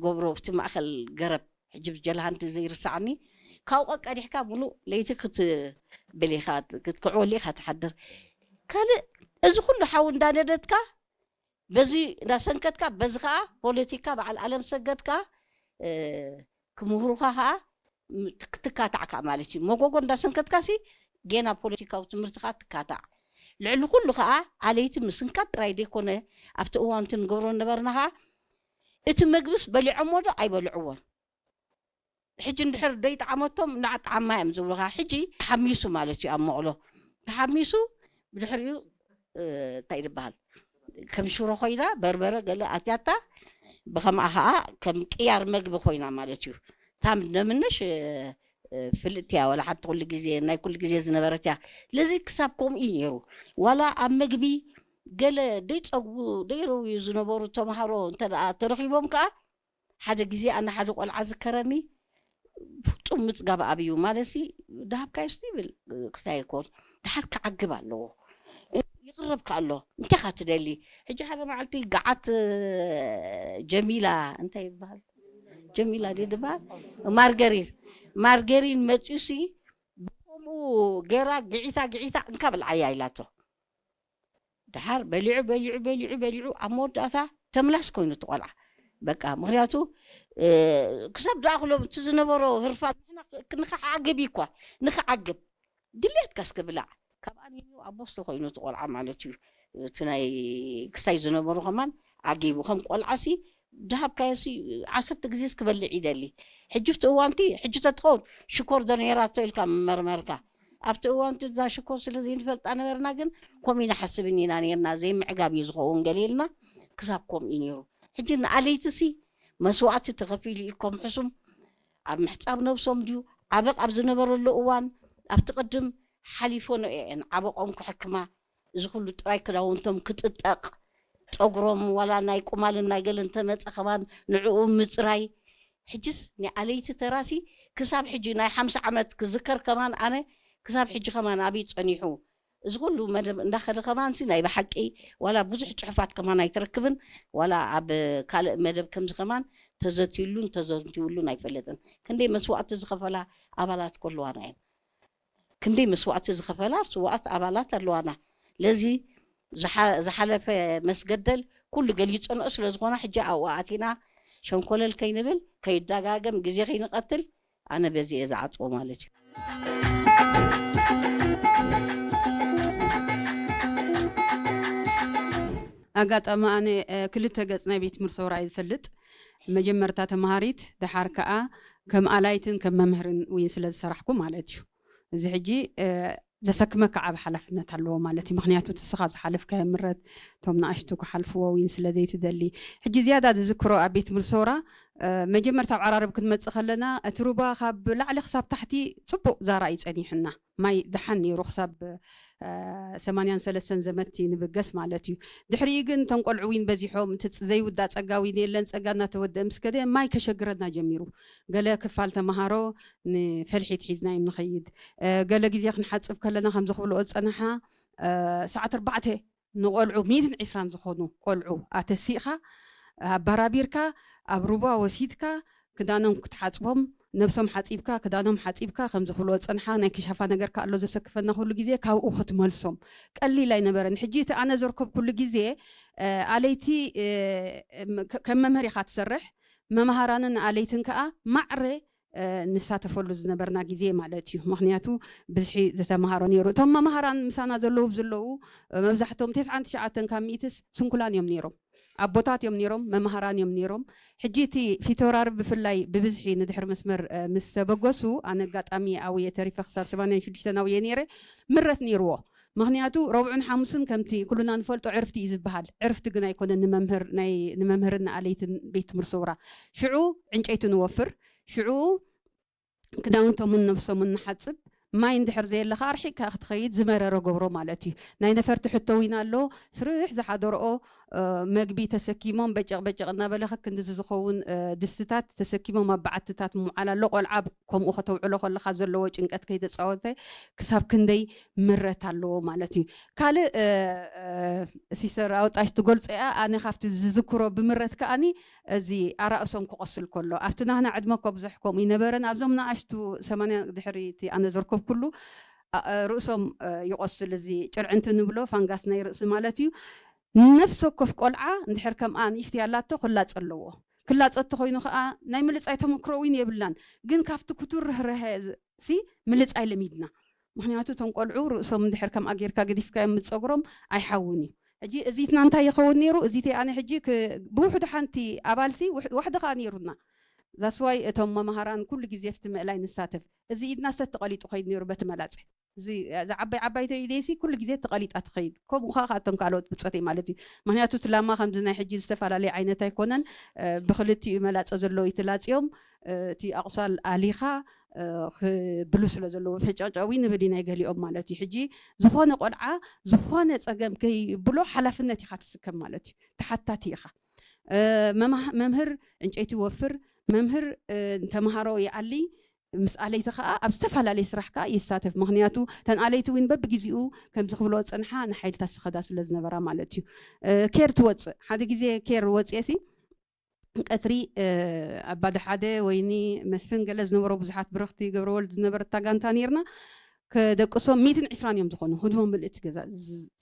ገብሮ ኣብቲ ማእኸል ገረብ ሕጂ ብጀልሃንቲ ዘይርሳዕኒ ካብኡ ቀዲሕካ ሙሉእ ለይቲ ክትብል ኢኻ ክትክዕወሉ ኢኻ ትሓድር። ካልእ እዚ ኩሉ ሓዊ እንዳነደድካ በዚ እንዳሰንከትካ በዚ ከዓ ፖለቲካ በዓል ኣለም ሰገድካ ክምህሩኻ ከዓ ትካታዕ ከዓ ማለት እዩ። መጎጎ እንዳሰንከትካ ሲ ጌና ፖለቲካዊ ትምህርቲ ከዓ ትካታዕ። ልዕሊ ኩሉ ከዓ ኣለይቲ ምስንካት ጥራይ ዘይኮነ ኣብቲ እዋንቲ ንገብሮ ነበርና ከዓ እቲ መግብስ በሊዖሞ ዶ ኣይበልዕዎን? ሕጂ እንድሕር ደይጠዓመቶም እናጠዓማ እዮም ዝብሉኻ። ሕጂ ተሓሚሱ ማለት እዩ ኣብ መቕሎ ተሓሚሱ ብድሕሪኡ እንታይ ዝበሃል ከም ሽሮ ኮይና በርበረ ገለ ኣትያታ ብኸምኣ ከዓ ከም ቅያር መግቢ ኮይና ማለት እዩ። ታም ነምነሽ ፍልጥቲ እያ ዋላ ሓንቲ ኩሉ ግዜ ናይ ኩሉ ግዜ ዝነበረት እያ። ስለዚ ክሳብ ከምኡ እዩ ነይሩ። ዋላ ኣብ መግቢ ገለ ደይፀግቡ ደይረውዩ ዝነበሩ ተምሃሮ እንተ ተረኪቦም ከዓ ሓደ ግዜ ኣነ ሓደ ቆልዓ ዝከረኒ ፍጹም ምጽጋብ ኣብዩ ማለት ሲ ደሃብካዮ ስ ይብል ክስታይ ይኮን ድሓር ክዓግብ ኣለዎ ይቕረብካ ኣሎ እንታይ ካ ትደሊ ሕጂ ሓደ መዓልቲ ገዓት ጀሚላ እንታይ ይበሃል ጀሚላ ዲ ድበሃል ማርገሪን ማርገሪን መጽዩ ሲ ብከምኡ ገራ ግዒታ ግዒታ እንካ ብልዓያ ኢላቶ ድሓር በሊዑ በሊዑ በሊዑ በሊዑ ኣብ መወዳእታ ተምላስ ኮይኑ እቲ ቆልዓ በቃ ምክንያቱ ክሳብ ደኣክሎም እቲ ዝነበሮ ህርፋን ንክዓግብ እዩ እኳ ንክዓግብ ድሌትካ እስከ ብላዕ ካብ ኣንዩ ኣቦስቶ ኮይኑ እቲ ቆልዓ ማለት እዩ እቲ ናይ ክስታይ ዝነበሩ ከማን ዓጊቡ ከም ቆልዓ ሲ ደሃብካዮ ሲ ዓሰርተ ግዜ ክበልዕ ይደሊ ሕጂ ብቲ እዋንቲ ሕጂ ተትኸውን ሽኮር ዶ ነይራቶ ኢልካ መመርመርካ ኣብቲ እዋንቲ እዛ ሽኮር ስለ ዘይንፈልጣ ነበርና ግን ከምኡ ኢና ሓስብን ኢና ነርና ዘይምዕጋብ እዩ ዝኸውን ገሊልና ክሳብ ከምኡ እዩ ነይሩ ሕጂ ንኣለይትሲ መስዋእቲ ተኸፊሉ እዩ ከም ሕሱም ኣብ ምሕፃብ ነብሶም ድዩ ዓበቕ ኣብ ዝነበረሉ እዋን ኣብቲ ቅድም ሓሊፎ ነኤን ዓበቆም ክሕክማ እዚ ኩሉ ጥራይ ክዳውንቶም ክጥጠቕ ጸጉሮም ዋላ ናይ ቁማልን ናይ ገለን ተመጸ ከማን ንዕኡ ምጽራይ ሕጅስ ናይ ኣለይቲ ተራሲ ክሳብ ሕጂ ናይ ሓምሳ ዓመት ክዝከር ከማን ኣነ ክሳብ ሕጂ ከማን ኣብይ ጸኒሑ እዚ ኩሉ መደብ እንዳኸደ ከማንሲ ናይ ብሓቂ ዋላ ብዙሕ ጽሑፋት ከማን ኣይትረክብን ዋላ ኣብ ካልእ መደብ ከምዚ ከማን ተዘትዩሉን ተዘንትዩሉን ኣይፈልጥን ክንደይ መስዋእቲ ዝኸፈላ ኣባላት ከለዋና እየን ክንደይ መስዋእቲ ዝኸፈላ ስዋኣት ኣባላት ኣለዋና ለዚ ዝሓለፈ መስገደል ኩሉ ገሊፀንኦ ስለ ዝኾና ሕጂ ኣብኡ ኣቲና ሸንኮለል ከይንብል ከይደጋገም ግዜ ከይንቐትል ኣነ በዚ እየ ዝዓፅዎ ማለት እዩ ኣጋጣሚ ኣነ ክልተ ገፅ ናይ ቤት ትምህርቲ ሰውራ እየ ዝፈልጥ መጀመርታ ተምሃሪት ደሓር ከዓ ከም ኣላይትን ከም መምህርን እውን ስለ ዝሰራሕኩ ማለት እዩ እዚ ሕጂ ዘሰክመካ ዓብ ሓላፍነት ኣለዎ ማለት እዩ ምክንያቱ እቲ ስኻ ዝሓለፍካዮ ምረት እቶም ንኣሽቱ ክሓልፍዎ እውን ስለ ዘይትደሊ ሕጂ ዝያዳ ዝዝክሮ ኣብ ቤት ትምህርቲ ሰውራ መጀመርታ ኣብ ዓራርብ ክንመፅእ ከለና እቲ ሩባ ካብ ላዕሊ ክሳብ ታሕቲ ፅቡቅ ዛራ እዩ ፀኒሕና ማይ ደሓን ነይሩ ክሳብ ሰማንያን ሰለስተን ዘመቲ ንብገስ ማለት እዩ ድሕሪኡ ግን እቶም ቆልዑ ዊን በዚሖም እቲ ዘይውዳእ ፀጋ ዊን የለን ፀጋ እናተወደአ ምስ ከደ ማይ ከሸግረና ጀሚሩ ገለ ክፋል ተምሃሮ ንፈልሒት ሒዝና እዮም ንኸይድ ገለ ግዜ ክንሓፅብ ከለና ከምዚ ክብልኦ ዝፀንሓ ሰዓት ኣርባዕተ ንቆልዑ ሚትን ዕስራን ዝኾኑ ቆልዑ ኣተሲእኻ ኣባራቢርካ ኣብ ሩባ ወሲድካ ክዳኖም ክትሓፅቦም ነብሶም ሓፂብካ ክዳኖም ሓፂብካ ከምዚ ክብልዎ ዝፀንሓ ናይ ክሻፋ ነገር ከኣሎ ዘሰክፈና ኩሉ ግዜ ካብኡ ክትመልሶም ቀሊል ኣይነበረን ሕጂ እቲ ኣነ ዘርከብኩሉ ግዜ ኣለይቲ ከም መምህር ኢኻ ትሰርሕ መምሃራንን ኣለይትን ከዓ ማዕረ ንሳተፈሉ ዝነበርና ግዜ ማለት እዩ ምክንያቱ ብዝሒ ዝተምሃሮ ነይሩ እቶም መምሃራን ምሳና ዘለዉ ዘለዉ መብዛሕቶም ተስዓን ትሽዓተን ካብ ሚእትስ ስንኩላን እዮም ነይሮም ኣቦታት እዮም ነይሮም መምሃራን እዮም ነይሮም ሕጂ እቲ ፊተውራሪ ብፍላይ ብብዝሒ ንድሕሪ መስመር ምስ ተበገሱ ኣነ ኣጋጣሚ ኣብየ ተሪፈ ክሳብ ሰማንያን ሽዱሽተን ኣብየ ነይረ ምረት ነይርዎ ምክንያቱ ረብዑን ሓሙስን ከምቲ ኩሉና ንፈልጦ ዕርፍቲ እዩ ዝበሃል ዕርፍቲ ግን ኣይኮነን ንመምህር ናይ ንመምህርን ንኣለይትን ቤት ትምህርቲ ሰውራ ሽዑ ዕንጨይቲ ንወፍር ሽዑ ክዳውንቶምን ነብሶምን ንሓፅብ ማይ እንድሕር ዘየለካ ኣርሒቅካ ክትኸይድ ዝመረረ ገብሮ ማለት እዩ ናይ ነፈርቲ ሕቶ ዊና ኣሎ ስርሕ ዝሓደርኦ መግቢ ተሰኪሞም በጨቕ በጨቕ እናበለ ከክንድዚ ዝኸውን ድስትታት ተሰኪሞም ኣብ በዓትታት ምውዓል ኣሎ። ቆልዓ ከምኡ ከተውዕሎ ከለኻ ዘለዎ ጭንቀት ከይተፃወተ ክሳብ ክንደይ ምረት ኣለዎ ማለት እዩ። ካልእ ሲሰር ኣውጣሽ ትገልፆ እያ። ኣነ ካብቲ ዝዝክሮ ብምረት ከኣኒ እዚ ኣራእሶም ክቆስል ከሎ ኣብቲ ናህና ዕድመ እኮ ብዙሕ ከምኡ ይነበረን ኣብዞም ንኣሽቱ ሰማንያ ድሕሪ እቲ ኣነ ዘርከብኩሉ ርእሶም ይቆስል። እዚ ጭርዕንቲ ንብሎ ፋንጋስ ናይ ርእሲ ማለት እዩ። ነፍሲ ወከፍ ቆልዓ እንድሕር ከምኣ ንእሽተይ ኣላቶ ክላፀ ኣለዎ። ክላፀ እተኮይኑ ከዓ ናይ ምልፃይ ተመክሮ እውን የብላን። ግን ካብቲ ክቱር ርህርሀ ሲ ምልፃይ ለሚድና። ምክንያቱ እቶም ቆልዑ ርእሶም እንድሕር ከምኣ ጌርካ ገዲፍካዮም ምፀጉሮም ኣይሓውን እዩ። ሕጂ እዚትና እንታይ ይኸውን ነይሩ? እዚተይ ኣነ ሕጂ ብውሕዱ ሓንቲ ኣባልሲ ዋሕዲ ከዓ ነይሩና። ዛስዋይ እቶም መምሃራን ኩሉ ግዜ ፍቲ ምእላይ ንሳተፍ። እዚ ኢድና ሰት ተቐሊጡ ከይድ ነይሩ በቲ መላፀ። እዚ ዓባይ ዓባይቶ ኢደይሲ ኩሉ ግዜ ተቐሊጣ ትኸይድ። ከምኡ ከዓ እቶም ካልኦት ብፆተይ ማለት እዩ። ምክንያቱ እቲ ላማ ከምዚ ናይ ሕጂ ዝተፈላለየ ዓይነት ኣይኮነን። ብክልቲኡ መላፀ ዘለዎ ይትላፅዮም። እቲ ኣቑሳል ኣሊኻ ክብሉ ስለ ዘለዎ ፈጨጨዊ ንብል ናይ ገሊኦም ማለት እዩ። ሕጂ ዝኾነ ቆልዓ ዝኾነ ፀገም ከይብሎ ሓላፍነት ኢኻ ትስከም ማለት እዩ። ተሓታቲ ኢኻ። መምህር ዕንጨይቲ ወፍር፣ መምህር ተምሃሮ ይኣሊ፣ ምስ ኣለይቲ ከዓ ኣብ ዝተፈላለየ ስራሕ ከዓ ይሳተፍ። ምክንያቱ እተን ኣለይቲ እውን በብግዜኡ ከምዚ ክብሎ ፅንሓ ንሓይልታት ስኸዳ ስለ ዝነበራ ማለት እዩ። ኬር ትወፅእ ሓደ ግዜ ኬር ወፅኤ ሲ ቀትሪ ኣባዲ ሓደ ወይኒ መስፍን ገለ ዝነበሮ ብዙሓት ብረኽቲ ገብረወልድ ዝነበረታ ጋንታ ነርና። ከደቅሶም ሚትን ዕስራን እዮም ዝኾኑ። ህድሞ ምልእቲ ገዛ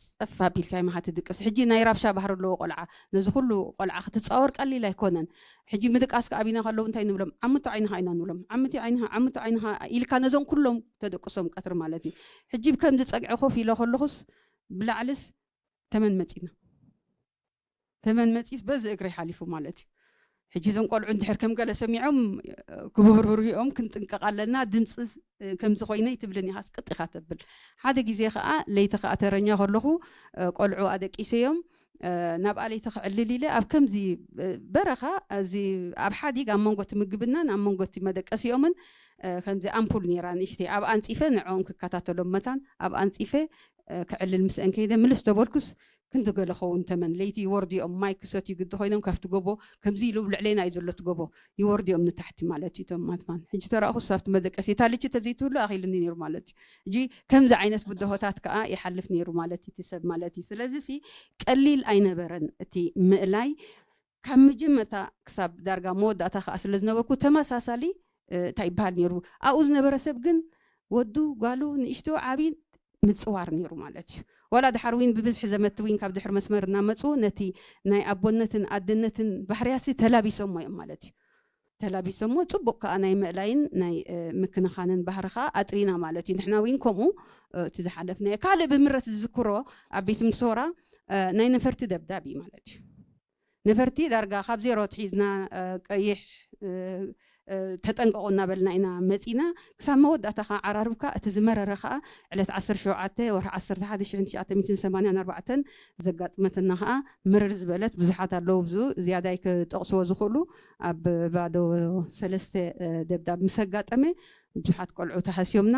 ጸፋ ቢልካ ይመሃ ትድቅስ። ሕጂ ናይ ራብሻ ባህሪ ኣለዎ ቆልዓ። ነዚ ኩሉ ቆልዓ ክትጻወር ቀሊል ኣይኮነን። ሕጂ ምድቃስ ከኣቢና ከለዉ እንታይ ንብሎም? ዓምቶ ዓይንኻ ኢና ንብሎም። ዓምቲ ዓይንኻ፣ ዓምቶ ዓይንኻ ኢልካ ነዞም ኩሎም ተደቅሶም ቀትሪ ማለት እዩ። ሕጂ ብከምዚ ጸግዒ ኮፍ ኢለ ከለኹስ ብላዕልስ ተመን መጺና። ተመን መጺስ በዚ እግረይ ሓሊፉ ማለት እዩ። ሕጂ እዞም ቆልዑ እንድሕር ከም ገለ ሰሚዖም ክበርሩ እዮም፣ ክንጥንቀቕ ኣለና። ድምፂ ከምዚ ኮይነ ይትብልን ኢኻስ ቅጥ ኢኻ ተብል። ሓደ ግዜ ከዓ ለይቲ ከዓ ተረኛ ከለኹ ቆልዑ ኣደቂሰዮም ናብኣ ለይቲ ክዕልል ኢለ ኣብ ከምዚ በረኻ እዚ ኣብ ሓዲግ ኣብ መንጎ እቲ ምግብናን ኣብ መንጎ እቲ መደቀሲኦምን ከምዚ ኣምፑል ነይራ ንእሽተይ ኣብ ኣንፂፈ ንዕኦም ክከታተሎም መታን ኣብ ኣንፂፈ ክዕልል ምስአን ከይደ ምልስ ተበልኩስ ክንዲ ገለ ኸውን ተመን ለይቲ ይወርድኦም ማይ ክሰትዩ ግዲ ኮይኖም ካብቲ ጎቦ ከምዚ ኢሉ ልዕሌና እዩ ዘሎ እቲ ጎቦ ይወርድኦም ንታሕቲ ማለት እዩ። እቶም ማትማን ሕጂ ተረእኹስ ኣብቲ መደቀሲ እታ ልቺ ተዘይትህሉ ኣኺሉኒ ነይሩ ማለት እዩ። ሕጂ ከምዚ ዓይነት ብድሆታት ከዓ ይሓልፍ ነይሩ ማለት እዩ እቲ ሰብ ማለት እዩ። ስለዚ ሲ ቀሊል ኣይነበረን እቲ ምእላይ ካብ መጀመርታ ክሳብ ዳርጋ መወዳእታ ከዓ ስለ ዝነበርኩ ተመሳሳሊ እንታይ ይበሃል ነይሩ ኣብኡ ዝነበረ ሰብ ግን ወዱ ጓሉ ንእሽቶ ዓብዪ ምፅዋር ነይሩ ማለት እዩ። ዋላ ድሓር ዊን ብብዝሒ ዘመቲ ዊን ካብ ድሕር መስመር እናመፁ ነቲ ናይ ኣቦነትን ኣደነትን ባህርያሲ ተላቢሶሞ እዮም ማለት እዩ። ተላቢሶሞ ፅቡቅ ከዓ ናይ ምእላይን ናይ ምክንኻንን ባህሪ ከዓ ኣጥሪና ማለት እዩ። ንሕና ዊን ከምኡ እቲ ዝሓለፍናዮ ካልእ ብምረት ዝዝክሮ ኣብ ቤት ምሶራ ናይ ነፈርቲ ደብዳብ እዩ ማለት እዩ። ነፈርቲ ዳርጋ ካብ ዜሮ ትሒዝና ቀይሕ ተጠንቀቑ እናበልና ኢና መፂና ክሳብ መወዳእታ ከዓ ዓራርብካ እቲ ዝመረረ ከዓ ዕለት ዓሰርተ ሸውዓተ ወርሒ ዓሰርተ ሓደ ሺሕ ትሽዓተ ሚእትን ሰማንያን ኣርባዕተን ዘጋጥመትና ከዓ ምርር ዝበለት ብዙሓት ኣለዉ ብዙ ዝያዳይ ክጠቕስዎ ዝኽእሉ ኣብ ባዶ ሰለስተ ደብዳብ ምስ ኣጋጠመ ብዙሓት ቆልዑ ተሃስዮምና።